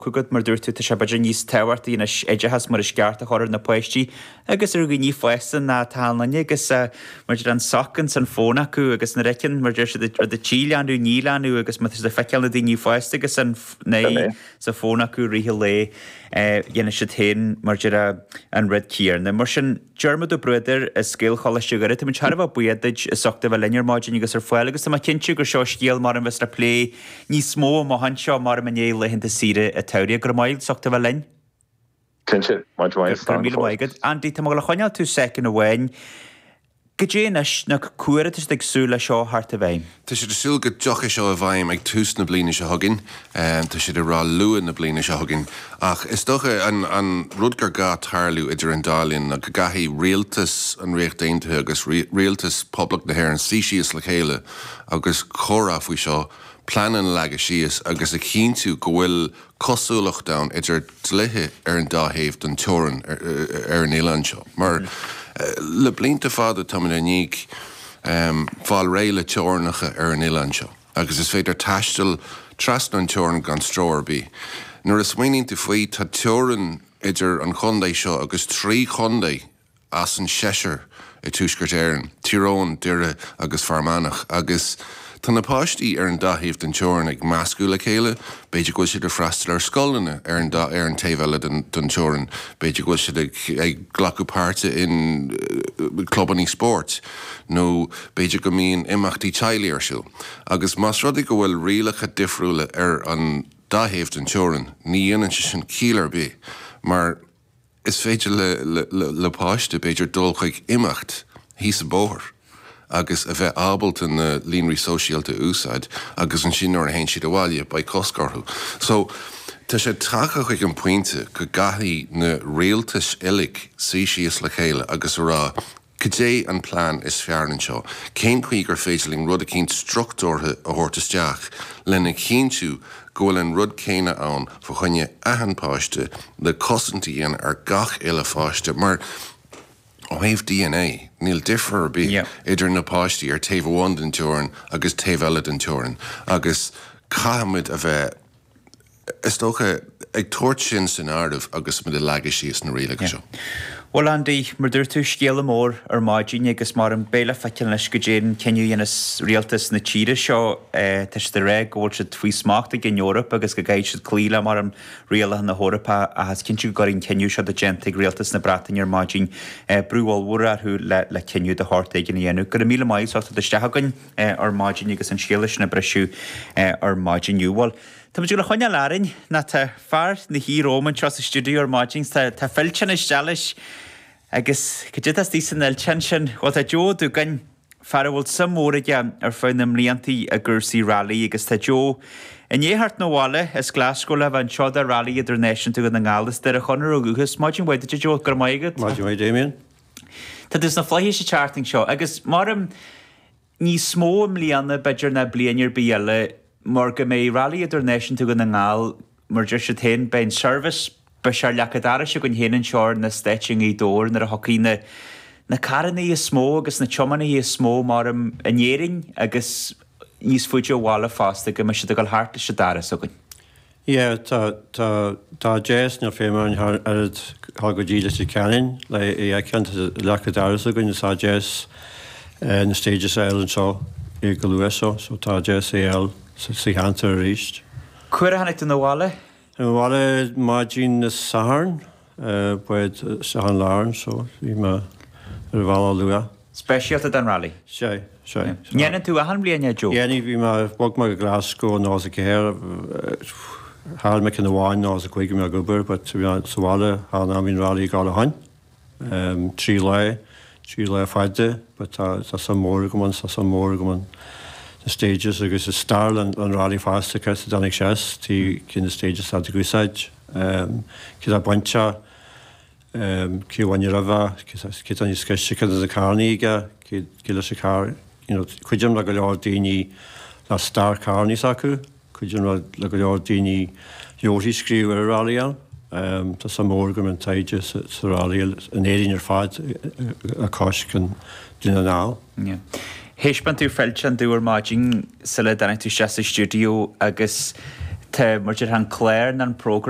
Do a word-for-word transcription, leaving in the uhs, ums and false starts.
Chugat, mar dúirt tú, tá sé b'fhéidir níos tábhachtaí anois oideachas mar is ceart a chur ar na páistí agus ar dhaoine fásta ná tá an duine agus mar deir an soc ins an fón acu agus nuair a fheiceann, mar deir siad, rud a trí leanbh ní leanbh agus má tá siad ag feiceáil na daoine fásta agus an n-aghaidh sa fón acu i rith an lae, dhéanfaidh siad féin, mar deir, an rud céanna. Mar sin, Diarmuid Ó Bruadair as Gaelcholáiste Dhoire, táimid thar a bheith buíoch duit as ucht a bheith linn ar maidin agus ar fáil agus tá mé cinnte gur seo scéal mar a bheas le plé níos mó amach anseo mar i ndiaidh laethanta saoire an tsamhraidh. Go raibh maith agat as ucht a bheith linn. Cinnte, maith go maith, Go raibh míle maith agat. Andy, tá mé ag dul a choinneáil tú soicind amháin. Goidé anois, nó cá huair atá siad ag súil le seo a theacht i bhfeidhm? Tá siad ag súil go dtiocfaidh seo i bhfeidhm ag tús na bliana seo chugainn. Tá siad ag rá luath na bliana seo chugainn. Ach is dócha an an rud gur gá tarlú idir an dá linn ná go gcaithfidh rialtas an Ríocht Aontaithe agus rialtas Poblacht na hÉireann suí síos le chéile agus comhrá faoi seo, pleananna a leagadh síos agus a chinntiú go bhfuil cosúlacht ann idir dlíthe ar an dá thaobh den teorainn ar an oileán seo. Mar le blianta fada táimid i ndiaidh fáil réidh le teorainneacha ar an oileán seo agus is féidir taisteal trasna an teorainn gan stró ar bith. Nuair a smaoiníonn tú faoi, tá teorainn idir an chontae seo agus trí chontae as an seisear i Tuaisceart Éireann, Tír Eoghain, Doire agus Fear Manach, agus tá na páistí ar an dá thaobh den teorainn ag meascadh le chéile, b'fhéidir go bhfuil siad ag freastal ar scoileanna ar an dá ar an taobh eile den den teorainn, b'fhéidir go bhfuil siad ag ag glacadh páirte in clubanna spóirt, nó b'fhéidir go mbíonn imeachtaí teaghlaigh ar siúl. Agus más rud é go bhfuil rialacha difriúla ar an dá thaobh den teorainn, ní dhéanann sé sin ciall ar bith, mar is féidir le le páiste, b'fhéidir, dul chuig imeacht thíos an bóthar agus a bheith ábalta na líonraí sóisialta a úsáid agus ansin nuair a théann siad abhaile beidh cosc orthu. So, tá sé tagtha chuig an pointe go gcaithfidh na rialtais uilig suí síos le chéile agus a rá cad é an plean is fearr anseo, cén chaoi gur féidir linn rud eicínt struchtúrtha a thabhairt isteach lena chinntiú go bhfuil an rud céanna ann fá choinne achan páiste le cosaint a dhéanamh ar gach uile pháiste mar ó thaobh D N A níl difear ar bith idir na páistí ar taobh amháin den teorainn agus taobh eile den teorainn agus caithfimid a bheith, is dócha, ag tabhairt sin san áireamh agus muid ag leagadh síos na rialacha seo. Bhuel, Andy, mar dúirt tú, scéala mór ar maidin agus mar an beidh le feiceáil anois goidé an cinneadh a dhéanfas rialtas na tíre seo. Tá siad ag rá go bhfuil siad faoi smacht ag an Eoraip agus go gcaithfidh siad cloí le mar an rialacha na hEorpa ach is cinnte go gcuirfidh an cinneadh seo atá déanta ag rialtas na Breataine ar maidin brú ollmhór orthu le le cinneadh de shórt éigin a dhéanamh. Go raibh míle maith as ucht a theacht isteach againn ar maidin agus an scéala sin a briseadh ar maidin inniu. Bhuel, tá muid ag dul a choinneáil orainn nó tá fear na thí romham anseo sa stiúideo ar maidin. Tá tá fillteán isteach leis agus cad é atá istigh san fhillteán sin? Bhuel, tá Joe Ó Dúgáin, fear a bhfuil suim mhór aige ar feadh na mbliantaí i gcúrsaí railí agus tá Joe i ndiaidh theacht 'na bhaile as Glasgow le bheith anseo do Rally Idirnáisiúnta Dhún na nGall. As Doire Chonaire ó dhúchas. Maidin mhaith duit, a Joe, go raibh maith agat. Maidin mhaith, Damien. Tá tú sna flaithis an tseachtain seo agus mar níos mó i mbliana b'fhéidir ná bliain ar bith eile mar go mbeidh Rally Idirnáisiúnta Dhún na nGall, mar deir siad féin, beidh an service, beidh sé ar leac an dorais againn féin anseo ar an eastát i nGaoth Dobhair nuair a thiocfaidh na na carrannaí is mó agus na tiománaithe is mó mar in Éirinn agus níos faide ó bhaile fosta go mbeidh siad ag dul thart leis an doras againn. Yeah, tá tá tá deis níl feidhm ann thar oiread thar go dtí Leitir Ceanainn le é a fheiceáil, tá leac an dorais againn is tá deis na stages a fháil anseo go luath so so tá deis é a fháil sa cheantar arís. Cá huair a tháinig tú 'na bhaile? 'Na bhaile maidin na Sathairn, bád isteach an Larne so bhí mé ar an bhealach luath. Speisialta don rally? Sea, sea. Ndéanann tú achan bhliain é, Joe? Dhéanfaidh, bhí mé, bhog mé go Glasgow in nócha ceathair, chaill mé ceann amháin nócha cúig bhí mé ag obair but bhí mé sa bhaile thar an am bhí an rally ag dul a shoin. Trí lá, trí lá fada but tá tá suim mór agam ann, tá suim mór agam ann na stages agus is stair an an rally fosta cé a dtáinig sé as, tí cinn na stages atá ag úsáid, cé tá bainteach, cé a bhain roimhe, cé tá níos gaiste, cé na carrannaí aige, cé cé leis an carr, you know, cuidim le go leor daoine le stair carrannaí s'acu, cuidim le le go leor daoine leabharthaí scríobh ar an rally ann. Tá suim mór agam in taighde sa sa rally in Éirinn ar fad a cois an Dún na nGall. Yeah. Thaispeáin tú fillteán domh ar maidin sula dtáinig tú isteach sa stiúideo agus Tá mar an clár an program